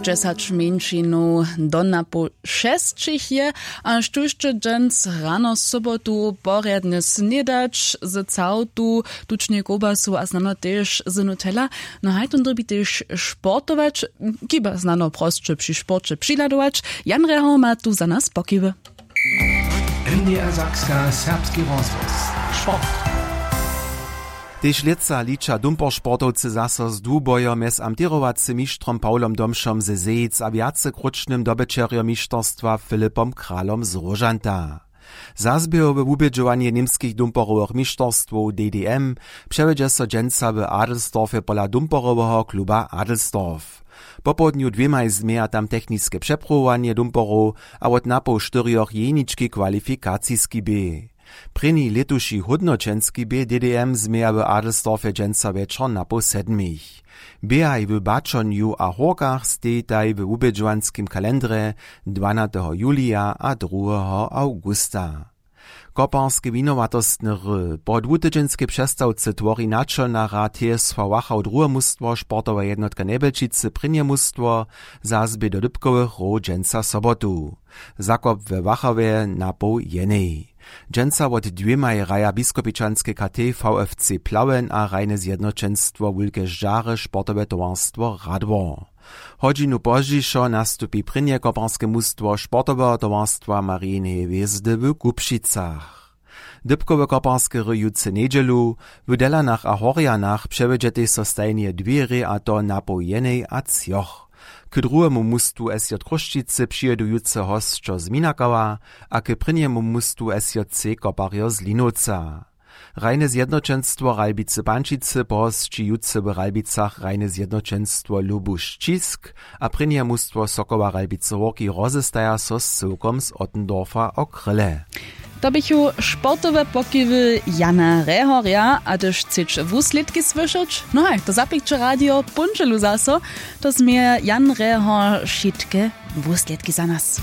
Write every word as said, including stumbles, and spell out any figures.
Dźesać mjeńšinow do napoł šesćich je, a štóž će dźens rano sobotu porjadnje snědać z całtu, tučnej kołbasu a snano tež z nutella. No haj tón dyrbi tež sportować, kiba snano prosće při sporće přihladować. Jan Reho ma tu za nas pokiwy. N D R Sakska, serbski rozhłos. Sport. Tež lětsa liča dumpersportowcy zaso z Dłubojo mjez amtěrowacym mištrom Pawlom Domšom ze Zejic a wjacekrótšnym dobyćerjom mišterstwa Filipom Kralom z Róžanta. Zazběhowe wubědźowanje němskich dumperowych mišterstwow D D M přewjedźe so dźensa w Adelsdorfje pola dumperoweho kluba Adelsdorf. Popołdnju dwěmaj změja tam techniske přepruwowanje dumperow a wot napoł štyrjoch jenički kwalifikaciski bě. Prěni lětuši hódnoćenski bě D D M změja w Adelsdorfje dźensa wječor napoł sedmich. Běhaj w Baćonju a Hórkach stejitaj w wubědźowanskim kalendrje dwanateho julija a druheho awgusta. Koparske winowatostny hry po dwutydźenskej přestawce twori načolna rad T S V Wachau druhe mustwo, sportowa jednotka Njebelčicy prěnje mustwo, zazběh do dypkowych hrow dźensa sobotu. Zakop we Wachawje napoł jenej. Dźensa wot dwěmaj hraja biskopičanske K T V F C Plauen a hrajne zjednoćenstwo Wulke ždźary sportowe towarstwo Radwor. Hodźinu pozdźišo nastupi prěnje koparske mustwo sportoweho towarstwa Marijineje hwězdy w Kubšicach. Dypkowe koparske hry jutře njedźelu, w Delanach a Horjanach přewjedźetej so stajnje dwě hrě, a to napoł jenej a třoch. K druhemu mustwu S J Chrósćicy přijědu jutře hosćo z Minakawa a k prěnjemu mustwu S J C Koparjo z Linowca. Hrajne zjednoćenstwo Ralbicy Pančicy pohosći jutře w Ralbicach hrajne zjednoćenstwo Lubuš Ćisk a prěnje mustwo Sokoła Ralbicy Hórki rozestaja so z cyłkom z Ottendorfa o kryle. To běchu sportowe pokiwy Jana Rehorja, a hdyž chceć wuslědki słyšeć, no haj, to zapikće radio póndźelu zaso, to změje Jan Rehor wšitke wuslědki za nas.